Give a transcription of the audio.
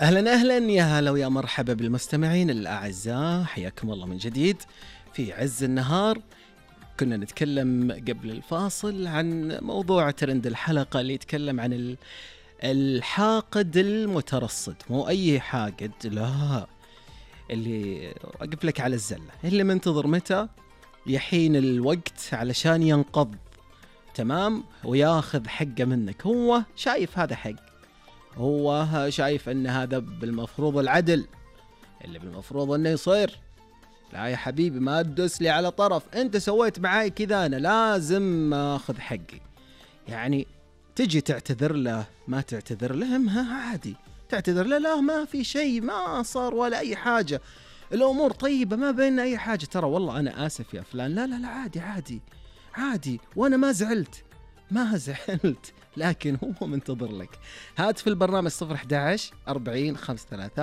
أهلا أهلا يا هلا ويا مرحبا بالمستمعين الأعزاء، حياكم الله من جديد في عز النهار. كنا نتكلم قبل الفاصل عن موضوع ترند الحلقة اللي يتكلم عن الحاقد المترصد، مو أي حاقد، لا، اللي أقف لك على الزلة، اللي منتظر متى يحين الوقت علشان ينقض، تمام، وياخذ حقه منك. هو شايف هذا حق، هو شايف ان هذا بالمفروض العدل اللي بالمفروض انه يصير. لا يا حبيبي، ما تدوس لي على طرف، انت سويت معاي كذا، انا لازم اخذ حقي. يعني تجي تعتذر له، ما تعتذر له ما عادي، تعتذر له لا ما في شيء، ما صار ولا اي حاجة، الامور طيبة، ما بيننا اي حاجة، ترى والله انا اسف يا فلان، لا لا لا عادي عادي عادي، وانا ما زعلت ما زعلت، لكن هو منتظر لك. هات في البرنامج 011 40 53